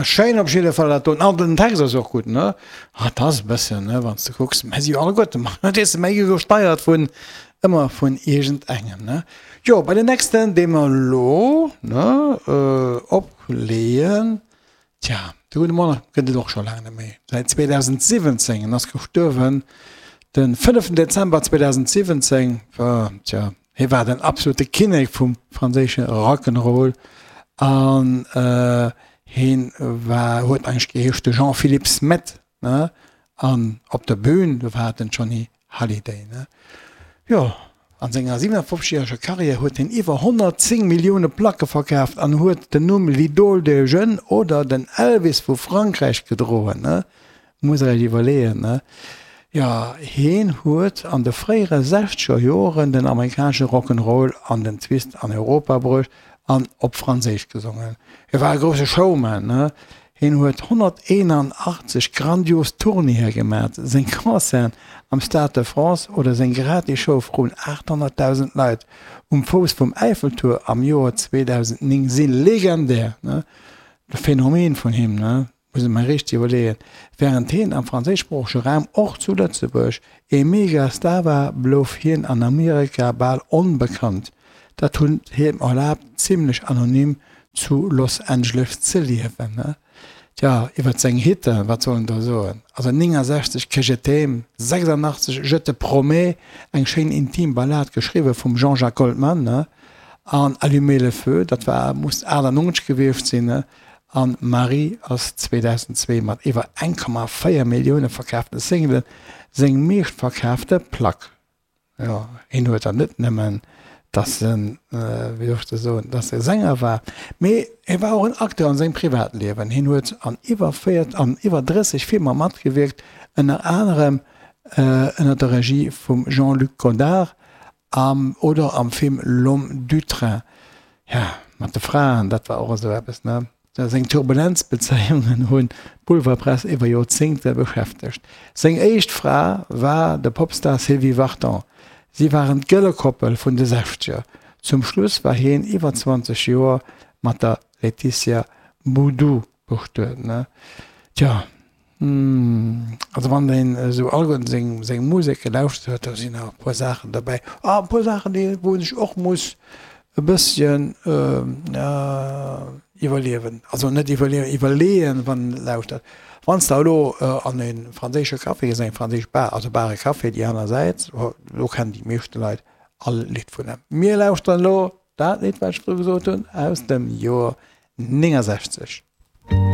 Schéin op jidde Fall dat doen. An den Text ass och gutt, ne? Ah, 't ass e bëssen, ne, wann s de kucks, mä si jo alleguerte ma weess de, méi gesteiert vun, ëmmer vun iergendengem, ne? Jo, bei den nächsten, dee mer elo, ne, opleeën, tja, de gudde Mann gëtt et och scho laang net méi, säit 2017, en ass gestuerwen de fënneften Dezember 2017, tja, Hie war den absolute Kinnek vum franséische Rock'n'Roll an hien war, huet eigentlech geheescht de Jean-Philippe Smet, ne? An op der Bühn, do war et den Johnny Hallyday, ne? Jo, an senger 57 järeger Karriär huet hien iwwer 110 Millioune Placke verkaaft an huet den Numm l'Idole des jeunes oder den Elvis vu Frankräich gedroen, ne? Muss der iech iwwerleeën, ne? Jo, heen huet an de fréiere sechzeger Joren den amerikanesche Rock'n'Roll an den Twist an Europa bruecht an op Franséisch gesongen. Hie war e grousse Showman, ne? Hien huet 181 grandios Tournéeë gemat, seng Concerten am Stade de France oder seng gratis Show vrun 800.000 Leit um Fouss vum Äiffeltuer am Joer 2009 si legendär, ne? De Phänomen vun him, ne? Muss ech mer richteg iwwerleeën. Während hien am franséischsproochege Raum, och zu Lëtzebuerg, ee Mega-Star war, blouf hien an Amerika bal onbekannt. Dat huet him erlaabt, zimlech anonym zu Los Angeles ze liewen. Tja, iwwert seng Hitten, wat soll en do soen? Also 69 Que je t'aime, 86 Je te promets, eng schéin intim Ballad, geschriwwe vum Jean-Jacques Goldman, an Allumer le feu, dat war, muss 98 gewiescht sinn. An Marie ass 2002 mat iwwer 1,4 Millioune verkaafte Singlen seng meeschtverkaafte Plack. Jo, hien huet dann net nëmmen, dass en, wéi soll ech dat soen, dass e Sänger war, mee hie war och en Acteur an sengem Privatliewen. Hien huet an iwwer 4, an iwwer 30 Filmer matgewierkt, ënner anerem ënner der Regie vum Jean-Luc Godard am oder am Film L'homme du train. Ja, mat de Fraen, dat war och esou eppes, ne? Seng Turbulenzbezéiungen hunn d'Boulevardpress iwwer Joerzéngte beschäftegt. Seng éischt Fra war de Popstar Sylvie Vartan. Si waren d'gëlle Koppel vun de Sechzeger. Zum Schluss war hien iwwer 20 Joer mat der Laetitia Boudou bestuet, ne? Tja. Also wann een esou alleguerten seng seng Musek gelauschtert huet, do sinn awer e puer Saachen derbäi, ah e puer Saachen déi wou een sech och muss e bësschen iwwerliewen, also net iwwerliewen, iwwerleeën wann een et lauschtert. Wann s de elo an e franséische Café gees, eng franséisch Bar, also Bar et Café déi aner Säit, do kennen déi meeschte Leit all Lidd vun em. Mir lauschteren elo dat Lidd wat ech virdru gesot hunn aus dem Joer 69.